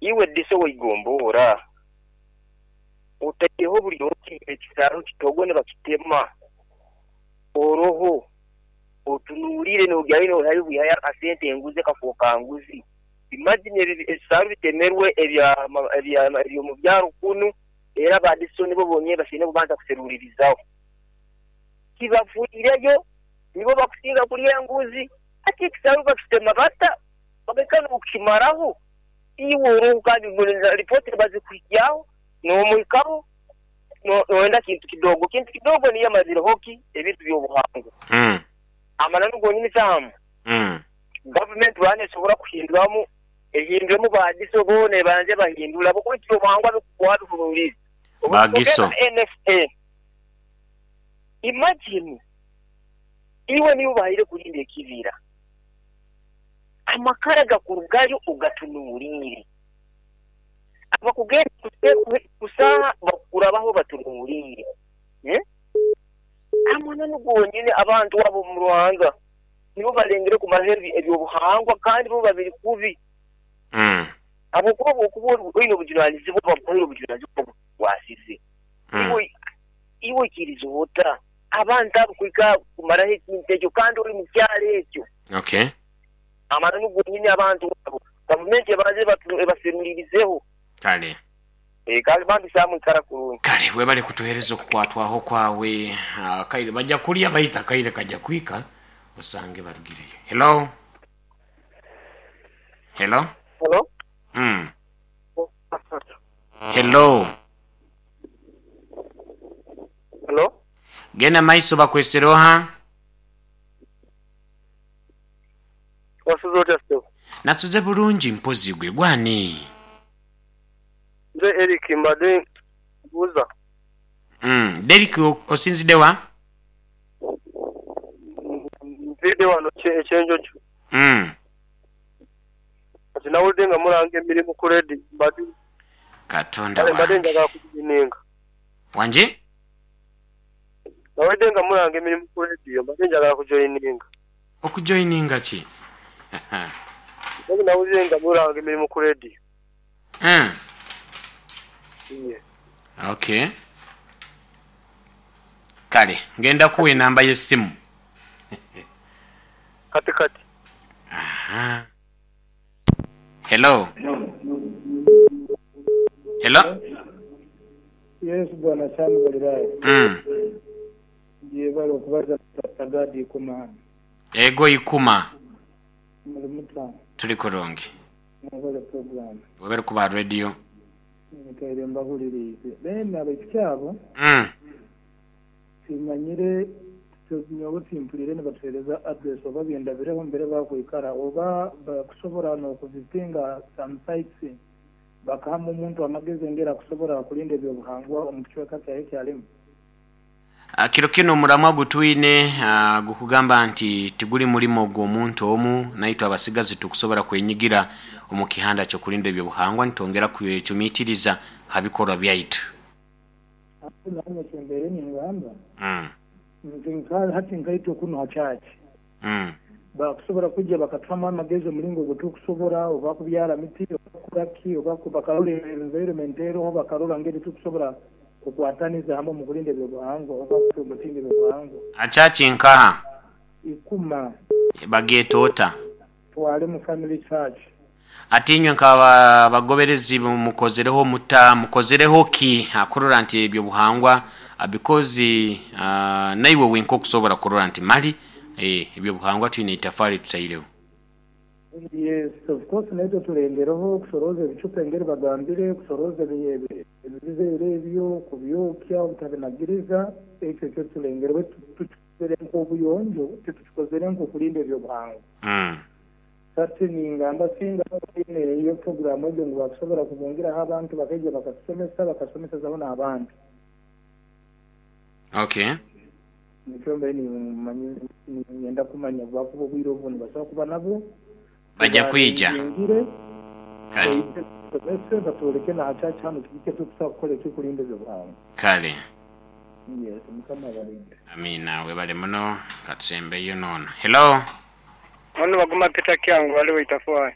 Iwe Diso w'eigomboora, otaireho buli oti ekisaaru kitogo nibakitema, oroho otunuulire noogyayo noihayo bwihayo akasente enguzi ekafooka nguzi. Imagine ebisaaru bitemerwe eby'omu byaro kunu era ba Diso nibo bonyini basaine kubanza kuseruliirizaho. Tibafiireyo, nibo bakusinga kulya enguzi. Hati ekisaaru bakitema bata bagaika n'okukimaraho? Iwe oroho kandi ripooti nibazikuhikyaho, n'omuhikaho noyenda kintu kidogo. Kintu kidogo niyo emazireho ki? Ebintu by'obuhangwa. Amananu gonyini Sam, gavumenti bwaba nesobora kuhinduramu, ehinduremu ba DISO boona ebanze ebahindule habwokuba ebintu by'obuhangwa wabihunuurize. Ba GISO. Obutugenda NSA. Imagine iwe niiwe obahaire kurinda ekibira. Amakara gakurugayo ogatunuuliire. Abakugenda kusaaha bakukurabaho batunuuliire. Amananu gonyini abantu abo omu Ruhanga nibo balengere kumaraho eby'obuhangwa kandi bo babiri kubi. Habwokuba obwokuba oine obujunanizibwa bakuhaire obujunanizibwa obukukwasize. Iwe oikiriza ota abantu abo kuhika kumaraho ekintu ekyo kandi ori mu kyaro ekyo? Okay. Amananu gonyini abantu abo gavumenti ebanze ebaserulirizeho. Kale. Kale bambi Sam ikara kurungi. Kale webale kutuhereza okukwatwaho kwawe. Akaire baja kulya baitu akaire kaja kwika osange barugireyo. Hello. Hello. Hello. Hello. Hello. Genda maiso bakwesere oha? Wasuze otya ssebo? Nasuze bulungi mpozi gwe gwani? Nze Eric mbade mbuuza. Derrick osinzidde wa? Nviide wano e Kyenjojo. Kati nawulidde nga mulanga emirimu ku leediyo mbade Katonda kale mbade wange. njagala kujoininga. Wangi? Nawulidde nga mulanga emirimu ku leediyo mbadde njagala kujoininga. Okujoininga ki? Mpozi nawulire nga mulanga emirimu ku leediyo. Iye. Okay. Kale ngenda kuwa enamba y'essimu. Kati kati. Aha. Hello. Hello. Yes bwana Sam Galilaya. Yebale okubaza Pastor Gad Ikuma hano. Ego Ikuma. Muli muta? Tuli kurungi. Mwebale program. Webale kuba radio. Nyikaire mbahuliriize. Then abaisiki abo timanyire nyowe timpuliire nibatuhereza address oba bindabireho mbere bakwikara oba bakusobora nokuvisinga some sites bakahamu omuntu amagezi engeri akusobora kulinda ebyobuhangwa omu kicweka kyaye ekyalimu. Kiro kinu omuramwa gutwine gukugamba nti tiguli mulimo gw'omuntu omu, naitwe abasigazi tukusobora kwenyigira omu kihanda ky'okulinda eby'obuhangwa nitwongera kwecumitiriza ha bikorwa byaitu. Hati nanye kyembaire ningamba nti nka hati nkaitwe kunu ha church bakusobora kwija bakatuhamu amagezi omulingo ogutukusobora oba kubyara miti oba kukora ki oba bakarora environment eroho bakarora ngeri tukusobora kukwataniza hamu omu kulinda ebyobuhangwa oba kupromotinga ebyobuhangwa. Ha church nkaha? Ikuma. Bageeta ota? Twalemu Family Church. Ati inywe nk'abagoberezi mukozereho muta, mukozereho ki kurora nti ebyobuhangwa because naiwe wenka okusobora kurora nti mali ebyobuhangwa twine itafaali tutaireho. Yes of course naitwe tulengereho kusorooza ebicupa engeri bagambire, kusorooza ebiveera ebyo, kubyokya obutabinagiriza, ekyo kyo tulengereho baitu tukikozere nk'obuyonjo titukikozere nk'okulinda ebyobuhangwa. Hati ningamba singa baine eyo puroguraamu egyo ngu bakusobora kubungiraho abantu bakaija bakatusomesa bakasomesezaho n'abandi. Okay. Nikyo mbaire niinyenda kumanya obu bakuba obwire obu nibasobora kuba nabwo. Baja kwija. Tubaringingire Kale. baije batusomese batwoleke na ha church hanu kiki ekitukusobora kukora ekikulinda eby'obuhangwa. Kale. Yes, Mukama abalinde. Amiina webale muno katusembeyo nono. Hello. Ono Baguma Peter Kyangu ali Waitafwai.